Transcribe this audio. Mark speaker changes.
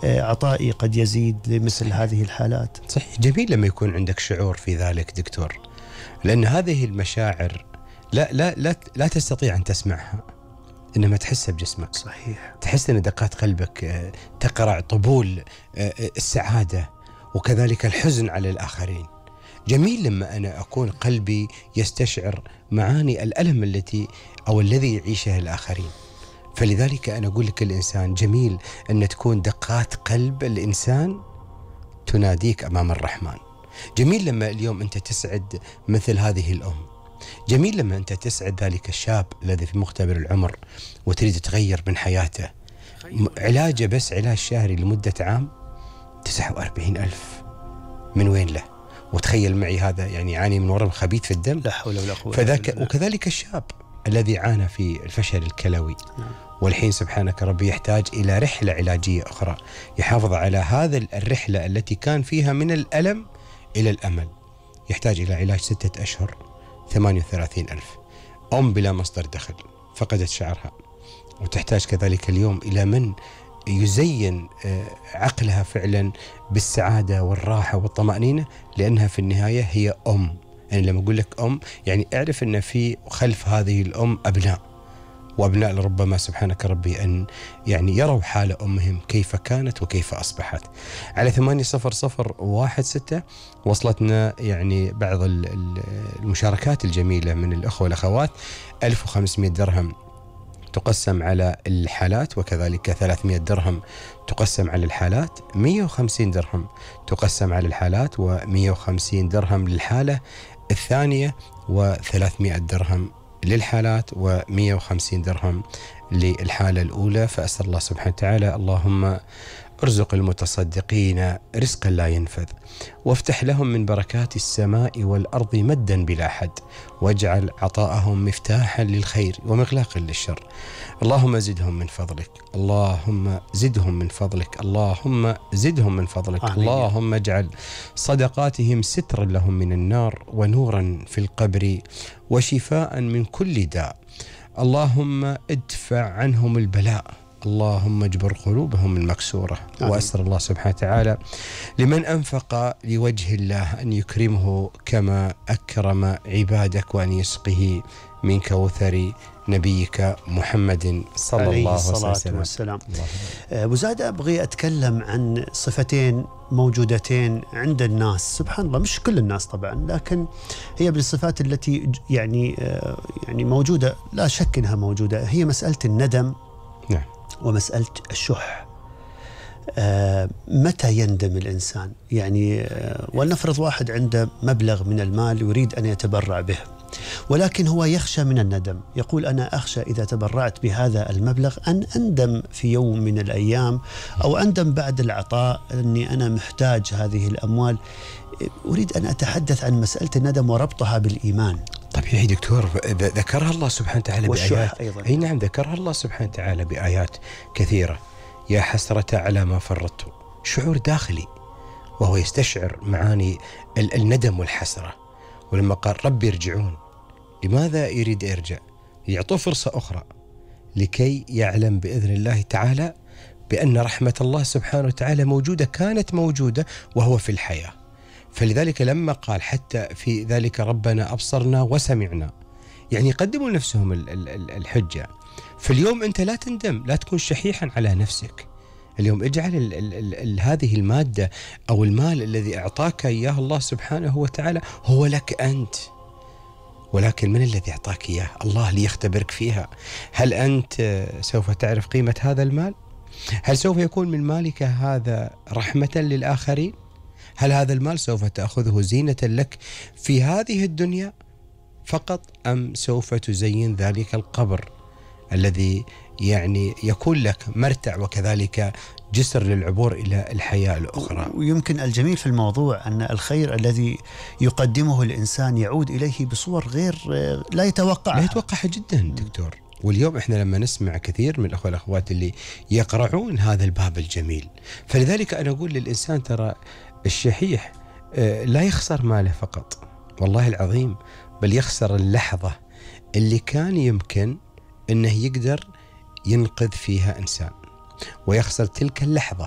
Speaker 1: عطائي قد يزيد لمثل هذه الحالات.
Speaker 2: صحيح، جميل لما يكون عندك شعور في ذلك دكتور، لأن هذه المشاعر لا تستطيع أن تسمعها، إنما تحسها بجسمك.
Speaker 1: صحيح.
Speaker 2: تحس أن دقات قلبك تقرع طبول السعادة وكذلك الحزن على الآخرين. جميل لما أنا أكون قلبي يستشعر معاني الألم الذي يعيشها الآخرين. فلذلك أنا أقول لك الإنسان جميل أن تكون دقات قلب الإنسان تناديك أمام الرحمن. جميل لما اليوم أنت تسعد مثل هذه الأم. جميل لما أنت تسعد ذلك الشاب الذي في مختبر العمر وتريد تغير من حياته. علاجه بس علاج شهري لمدة عام 49,000 من وين له؟ وتخيل معي هذا يعني يعاني من ورم خبيث في الدم.
Speaker 1: لا حول ولا قوة إلا بالله.
Speaker 2: وكذلك الشاب الذي عانى في الفشل الكلوي والحين سبحانك ربي يحتاج إلى رحلة علاجية أخرى يحافظ على هذا الرحلة التي كان فيها من الألم إلى الأمل. يحتاج إلى علاج 6 أشهر 38,000. أم بلا مصدر دخل فقدت شعرها، وتحتاج كذلك اليوم إلى من يزين عقلها فعلا بالسعادة والراحة والطمأنينة، لأنها في النهاية هي أم. يعني لما أقول لك أم يعني اعرف أن في خلف هذه الأم أبناء، وأبناء لربما سبحانك ربي أن يعني يروا حال أمهم كيف كانت وكيف أصبحت. على 80016 وصلتنا يعني بعض المشاركات الجميلة من الأخوة والأخوات. 1500 درهم تقسم على الحالات، وكذلك 300 درهم تقسم على الحالات، 150 درهم تقسم على الحالات، و150 درهم للحالة الثانية، و300 درهم للحالات، و150 درهم للحالة الأولى. فأسأل الله سبحانه وتعالى اللهم ارزق المتصدقين رزقا لا ينفذ، وافتح لهم من بركات السماء والأرض مدا بلا حد، واجعل عطاءهم مفتاحا للخير ومغلاقا للشر. اللهم زدهم من فضلك، اللهم زدهم من فضلك، اللهم زدهم من فضلك. اللهم اجعل صدقاتهم سترا لهم من النار، ونورا في القبر، وشفاء من كل داء. اللهم ادفع عنهم البلاء، اللهم اجبر قلوبهم المكسورة. وأسأل الله سبحانه وتعالى لمن أنفق لوجه الله أن يكرمه كما أكرم عبادك، وأن يسقه من كوثر نبيك محمد صلى الله عليه وسلم.
Speaker 1: أبو زاد، أبغي أتكلم عن صفتين موجودتين عند الناس، سبحان الله مش كل الناس طبعا، لكن هي من الصفات التي يعني موجودة، لا شك أنها موجودة. هي مسألة الندم،
Speaker 2: نعم،
Speaker 1: ومسألة الشح. متى يندم الإنسان؟ يعني ولنفرض واحد عنده مبلغ من المال يريد أن يتبرع به، ولكن هو يخشى من الندم. يقول أنا أخشى إذا تبرعت بهذا المبلغ أن أندم في يوم من الأيام، أو أندم بعد العطاء أني أنا محتاج هذه الأموال. أريد أن أتحدث عن مسألة الندم وربطها بالإيمان.
Speaker 2: طبيعي دكتور، ذكرها الله سبحانه وتعالى بآيات.
Speaker 1: أيضا.
Speaker 2: أي نعم، ذكرها الله سبحانه وتعالى بآيات كثيرة. يا حسرة على ما فرطت، شعور داخلي وهو يستشعر معاني الندم والحسرة. ولما قال ربي ارجعون، لماذا يريد يرجع؟ يعطوه فرصة أخرى لكي يعلم بإذن الله تعالى بأن رحمة الله سبحانه وتعالى موجودة، كانت موجودة وهو في الحياة. فلذلك لما قال حتى في ذلك ربنا أبصرنا وسمعنا، يعني يقدموا لنفسهم الحجة. فاليوم أنت لا تندم، لا تكون شحيحا على نفسك. اليوم اجعل هذه المادة أو المال الذي أعطاك إياه الله سبحانه وتعالى هو لك أنت، ولكن من الذي أعطاك إياه؟ الله ليختبرك فيها. هل أنت سوف تعرف قيمة هذا المال؟ هل سوف يكون من مالك هذا رحمة للآخرين؟ هل هذا المال سوف تأخذه زينة لك في هذه الدنيا فقط، أم سوف تزين ذلك القبر الذي يعني يكون لك مرتع وكذلك جسر للعبور إلى الحياة الأخرى؟
Speaker 1: ويمكن الجميل في الموضوع أن الخير الذي يقدمه الإنسان يعود إليه بصور غير لا يتوقعها
Speaker 2: جدا دكتور. واليوم إحنا لما نسمع كثير من الأخوة والأخوات اللي يقرعون هذا الباب الجميل، فلذلك أنا أقول للإنسان ترى الشحيح لا يخسر ماله فقط، والله العظيم، بل يخسر اللحظة اللي كان يمكن أنه يقدر ينقذ فيها إنسان، ويخسر تلك اللحظة